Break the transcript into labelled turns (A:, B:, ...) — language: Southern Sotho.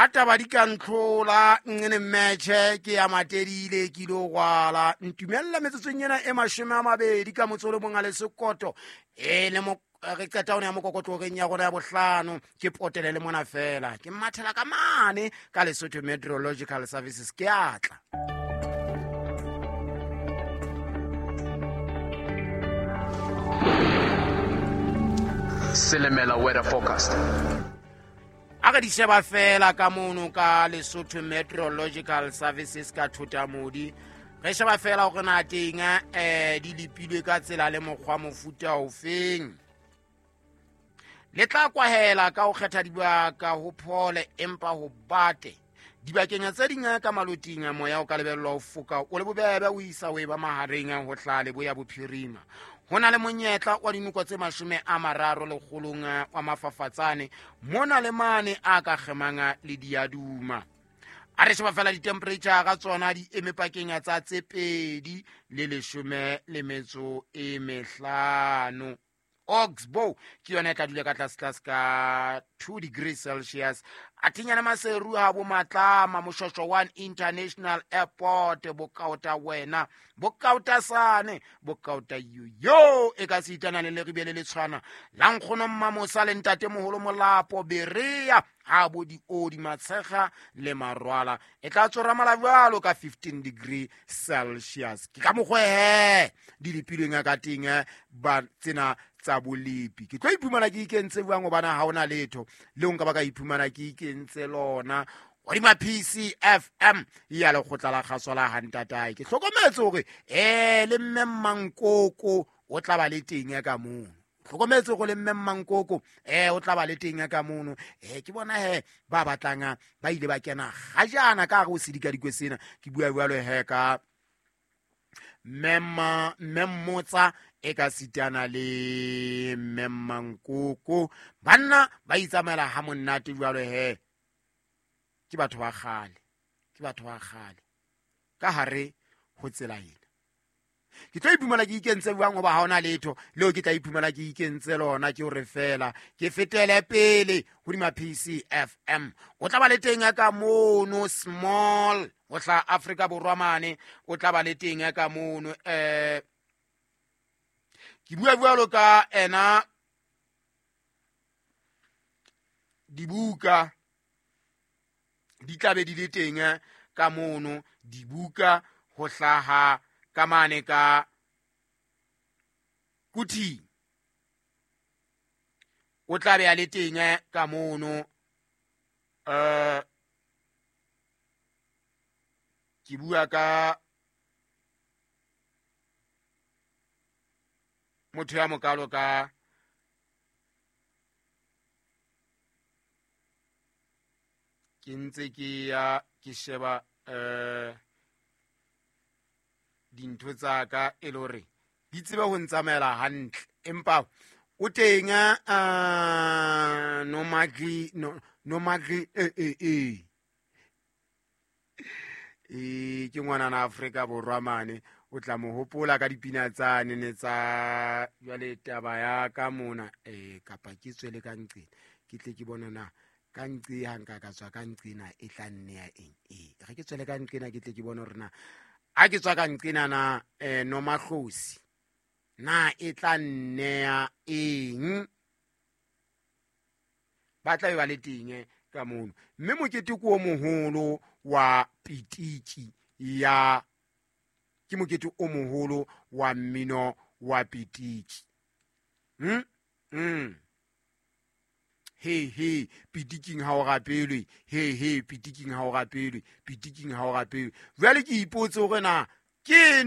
A: Ha taba di ka ntlhola nngene mmetšhe ke ya matedile ke ile gwala ntumella metsotsong ena e 20 ka motse o le mong a le sekoto e le re qeta one ya mokokotlogeng ya gona ya bohlano ke potele le mona fela ke mathela ka mane ka Lesotho Meteorological Services ke atla.
B: Silimela weather forecast.
A: A re di sheba fela ka mono ka Lesotho Meteorological Services ka Thotamodi, re sheba fela gore na teng di lepilwe ka tsela le mokgwa mofuta ofeng. Le tla kwahela ka ho kgetha dibaka ho phole empa ho bate. Dibakeng tse ding ka maloting moya o ka lebellwa ho foka o le bobebe o isa o e ba mahareng ho tla leboya bophirima. Ho na le monyetla wa dinoko tse 30 lekgolong wa mafafatsane mona le mane a ka kgemang le diaduma. A re sheba fela di-temperature ga tsona di eme pakeng tsa tse 2 le 15. Oxbow ke yona e tla dula ka tlase ka 2 degrees Celsius. A thinyana Maseru ha bo Matlama Moshosho 1 International Airport bokaota wena bokaota sane bokaota yo e ka sitana le leribele le tshwana la nkgono Mmamosa le ntate moholo Molapo Berea ha bo di odi matshega le marwala e tla tsora mala jwalo ka 15 degree Celsius. Ke ka mokgwa di lepilweng ka teng ba tsena tsa bolepi. Ke tlo iphumana ke ikentse jwang hobane ha hona letho le nka ba ka iphumana ke ikentse lona hodima PCFM ya lekgotla la kgaso la hantatae. Ke hlokometse hore le mme Mmankoko o tla ba le teng ka mono. Hlokometse go le mme Mmankoko o tla ba le teng ka mono. Ke bona he ba batlang ba ile ba kena gajana ka go sedikadikwe sena. Ke bua jwalo he ka mme Mmotsa e ka sitana le mme Mmankoko. Banna ba itsamaela ha monate jwalo he. Ke batho ba kgale, ke batho ba kgale ka hare ho tsela ena. Ke tlo iphumana ke ikentse jwang hoba ha hona letho leo ke tla iphumana ke ikentse lona, ke hore fela ke fetele pele hodima PCFM. O tla ba le teng ka mono small o tla Afrika Borwa mane, o tla ba le teng ka mono. Ke bua jwalo ka ena dibuka di tla be di le teng ka mono, dibuka ho hlaha ka mane ka Kuthi o tla be a le teng ka mono. Ke bua ka motho ya mokalo ka ke ntse ke ya ke sheba dintho tsa ka e le hore di tsebe ho ntsamaela hantle, empa o teng no magli no magli ke ngwana Afrika Borwa mane, o tla mo hopola ka dipina tsane ne tsa jwale taba ya ka mona. Kapa ke tswele ka nqena ke tle ke bona na ka nqe ha nka ka tswa ka nqena e tla nne ya eng. Re ke tswele ka nqena ke tle ke bone hore na ha ke tswa ka nqena na Nomahlosi na e tla nne ya eng. Ba tla be ba le teng ka mono. Mme mokete ke o moholo wa pitiki ya, ke mokete o moholo wa mmino wa pitiki. He he pitiking ha o rapelwe, he he pitiking ha o rapelwe, pitiking ha o rapelwe. Jwale ke ipotse hore na ke